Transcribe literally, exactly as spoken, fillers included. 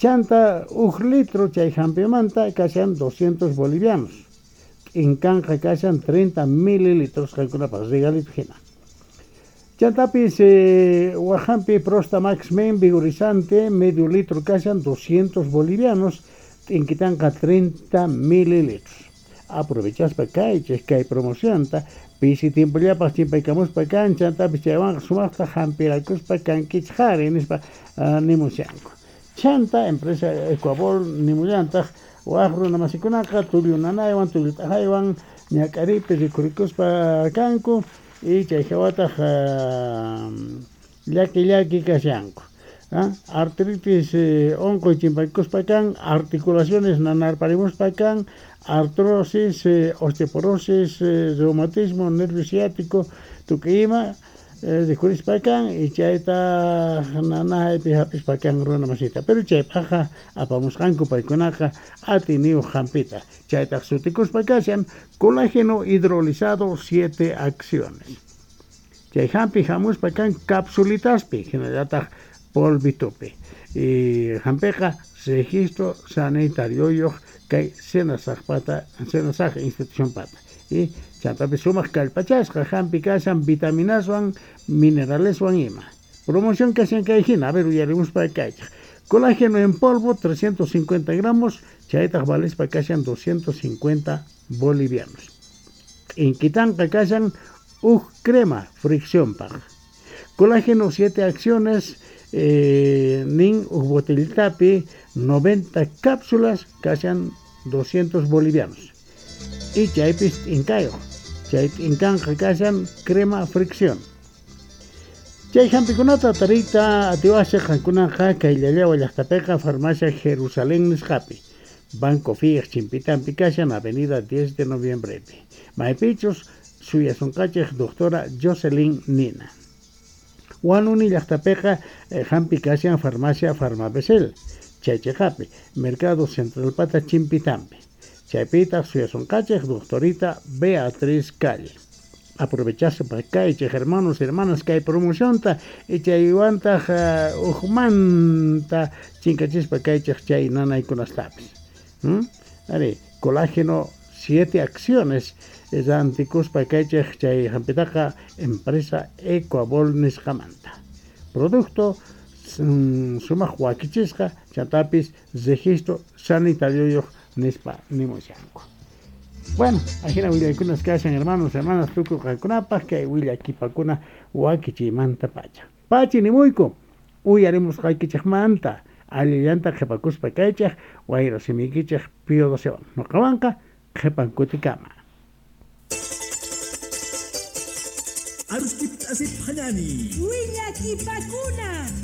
Chanta uj litro chay hampimanta kashan doscientos bolivianos. T'inkanqa kashan treinta mililitros qankunapaq regalito hina. Chantapis eh, waj hampi Prostamax Men vigorizante medio litro kashan doscientos bolivianos, t'inkitanqa treinta mililitros. Aprovechaspa kaychej kay promocionta, pisi tiempollapaq chimpaykamuspa kan, chantapis chaywanqa sumaqta hampirakuspa kankichej qhari nispa uh, nimushanku. Chanta empresa Ecuabol nimullantaq waj runa masikunaqa tullu nanaywan tullu t'ajaywan ñak'aripi rikhurikuspa kanku y chay hawataq uh, llaki llaki kashanku. ¿Ah? Artritis eh, onqoy chimpaykuspa kan, articulaciones nanarparimuspa kan, artrosis, eh, osteoporosis, eh, reumatismo, nervio ciático, tukuy ima eh, rikhurispa kan y chayta nanaypi hapispa kan runa masita. Pero chaypaqqa apamusqanku paykunaqa atiniyuq hampita. Chaytaq sutikuspa kashan colágeno hidrolizado siete acciones. Chay hampi hamuspa kan capsulitaspi, hinallataq polvitopi. Y hampiqa registro sanitario kay Senasajpata, Senasaj institución pata. Y chantapis sumaq kallpachasqa hampi kashan vitaminaswan, mineraleswan ima. Promoción kashan kay hina, a ver uyarimuspa kaychaj. Colágeno en polvo trescientos cincuenta gramos, chaytaq valispa kashan doscientos cincuenta bolivianos. Inquitanqa kashan uj crema fricción paq. Colágeno siete acciones, eh, nin uj botellitapi noventa cápsulas kashan doscientos bolivianos. Y chaypis t'inkayo, chay t'inkanqa kashan crema fricción. Chay hampikunata tariyta atiwasej qankunaqa kay Llallawa llaqtapiqa farmacia Jerusalén nisqapi. Banco Fiej chimpitampi kashan avenida diez de noviembrepi. Maypichus suyasunqachej doctora Jocelyn Nina. Huanuni llaqtapiqa eh, hampi kashan farmacia Farmabesel, chaychiqapi, Mercado Central pata chimpitampi. Chaypitaq suyasunqachej doctorita Beatriz Calle. Aprovechaspa kaychej hermanos y hermanas kay promocionta y chaywantaq uh, ujmanta chinkachispa kaychej chay nanaykunastapis. ¿Mm? Ari, colágeno siete acciones rantikuspa kaychej chay hampitaqa empresa Ecuabol nisqamanta. Producto mm, sumaq wakichisqa chantapis registro sanitario nispa nimushanku. Bueno, ajina willaykunas kashan hermanos, hermanas, tukuy qankunapaq kay willakipakuna wakichiymanta pacha. Pachi nimuyku, uyarimusqaykichejmanta, allillanta qhipakuspa kaychej, wayra simiykichej Pío docewan. Noqawanqa qhipankutikama. Aruskip asip hanani. Willakipakuna.